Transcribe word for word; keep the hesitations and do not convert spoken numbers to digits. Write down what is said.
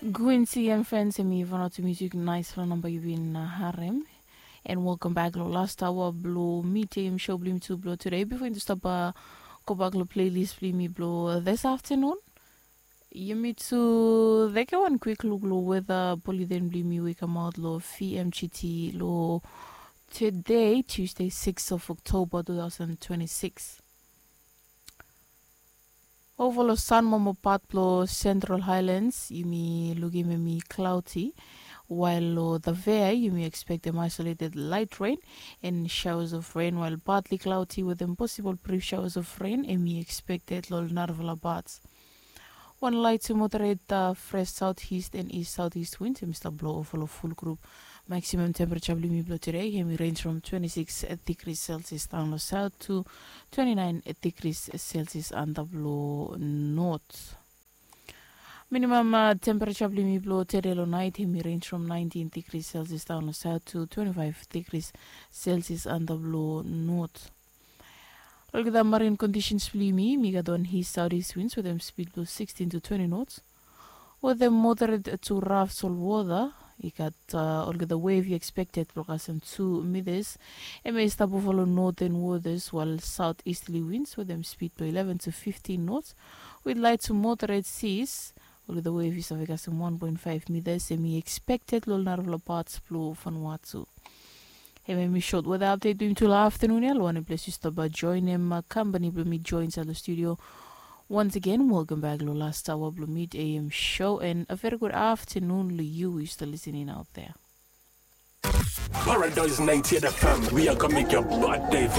Gwinsi and friends, em i vanaotu music nice from number you've been uh, harem. And welcome back lo last hour blo midday em show blim tu blo today. Before you stop uh, go back lo playlist blim blo this afternoon. Yumi tu take one quick look lo weather bulletin blim we come out lo V M G T lo today, Tuesday, sixth of October two thousand twenty-six. Ova lo sanmama pat blo Central Highlands yumi lukim em i cloudy, while lo the Vea yumi expectem isolated light rain and showers of rain, while partly cloudy with them possible brief showers of rain em i expected lo narafala parts. Wan light to moderate uh, fresh southeast and east southeast winds em i stap blo ova lo full group. Maximum temperature blim i blo today em i range from twenty-six degrees Celsius down lo south to twenty-nine degrees Celsius antap lo north. Minimum uh, temperature blim i blo today lo night em i range from nineteen degrees Celsius down lo south to twenty-five degrees Celsius antap lo north. Olgeta marine conditions blim i mi gat wan east southeast winds with them speed blo sixteen to twenty knots. With them moderate to rough sol water, i gat uh, olgeta wave i expected blo kasem two meters. Em i stap ova lo northern waters, while southeasterly winds with them speed blo eleven to fifteen knots with light to moderate seas. Olgeta wave i save kasem one point five meters em i expected lo narafala parts blo Vanuatu. Em em i short weather update blim tu lo afternoon ya lo wanem ples yu stap joinem uh, company blo mi join inside lo studio. Once again, welcome back lo last hour blo mid A M show and a very good afternoon lo you who is still listening out there. Paradise ninety-eight F M, we are gonna make your birthday